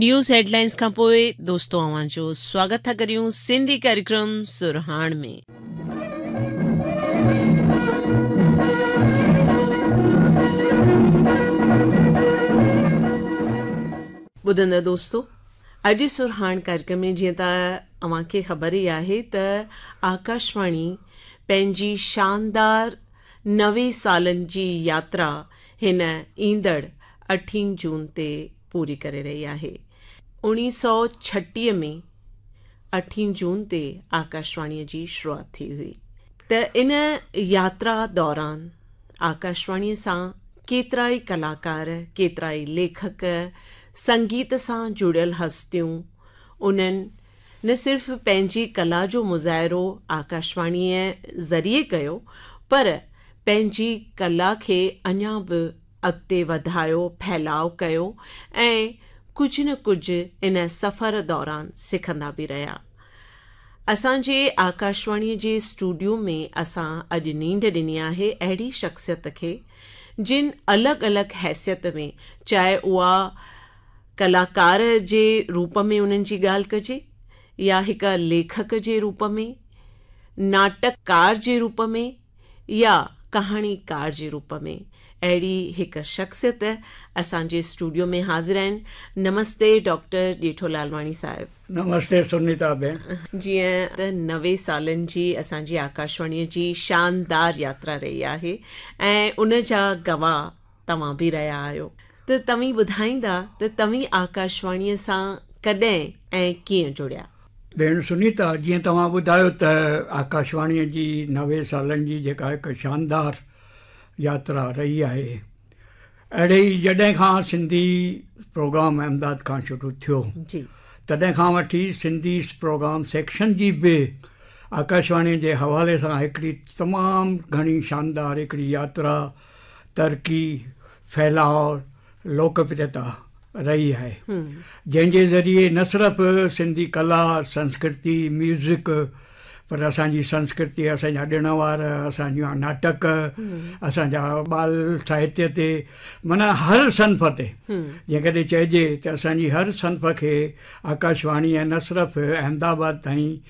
News headlines کان پوء دوستو اوهان جو سواگت ٿا ڪريون سنڌي ڪاريڪرم سرهاڻ ۾. ٻڌندڙ دوستو اڄ سرهاڻ ڪاريڪرم ۾ جيئن ته اوهان کي خبر ئي آهي ته آڪاشواڻي پنهنجي شاندار 90 سالن جي ياترا هن ايندڙ اٺين جون تي پوري ڪري رهي آهي. 1936 ۾ اٺين جون تي آڪاشواڻيء جي شروعات ٿي هئي ته ان ياترا دوران آڪاشواڻيء سان ڪيترائي ڪلاڪار، ڪيترائي ليکڪ، سنگيت سان جڙيل هستيون انهن نه صرف پنهنجي ڪلا جو مظاهرو آڪاشواڻيء ذريعي ڪيو پر پنهنجي ڪلا کي اڃا به اڳتي وڌايو، ڦهلاء ڪيو ۽ ڪجهه نه ڪجهه ان سفر دوران سکندا به رهيا. اسان جي آڪاشواڻيء جي اسٽوڊيو ۾ اسان اڄ نينڍ ڏني آهي اهڙي شخصيت کي جن الڳ الڳ حيثيت ۾ چاهي اها ڪلاڪار جي روپ ۾ انهن جي ڳالهه ڪجي يا هڪ ليکڪ جي روپ ۾، ناٽڪ ڪار جي روپ ۾ يا ڪهاڻيڪار جي روپ ۾ اهڙي هڪ شخصيت اسان جي اسٽوڊيو ۾ حاضر آهن. نمستي ڊاڪٽر ڄيٺو لالواڻي صاحب. نمستي سنيتا ڀيڻ. جيئن ته 90 سالن جي اسان جي آڪاشواڻيء جي شاندار ياترا رهي آهي ۽ ان جا گواهه توهان به رهيا آهيو ته توهين ٻڌائيندا ته توهين آڪاشواڻيء سان ڪڏهن ۽ ڪيئن جڙيا؟ ڀيڻ سنيتا، جيئن توهان ٻڌايو ته آڪاشواڻيء جي 90 سالن جي جيڪا هڪ شاندار ياترا رهي آهي، اهڙي ئي جڏهن کان سنڌي پروگرام احمدآباد کان شروع ٿيو، تڏهن کان وٺي سنڌي پروگرام سيڪشن جي به آڪاشواڻيء جي حوالي سان هڪڙي تمام گهڻي شاندار هڪڙي ياترا، ترقي، ڦهلاء، لوڪپريتا رهي آهي، جنهن جي ذريعي نه صرف سنڌي ڪلا، سنسڪرتي، ميوزڪ پر اسان جي سنسڪرتي، اسان جا ڏڻ وار، اسان جا ناٽڪ، اسان جا ٻال ساهتيه تي معنيٰ هر صنف تي جيڪڏهن چئجي ته اسان جي هر صنف کي آڪاشواڻيء نه صرف احمدآباد تائين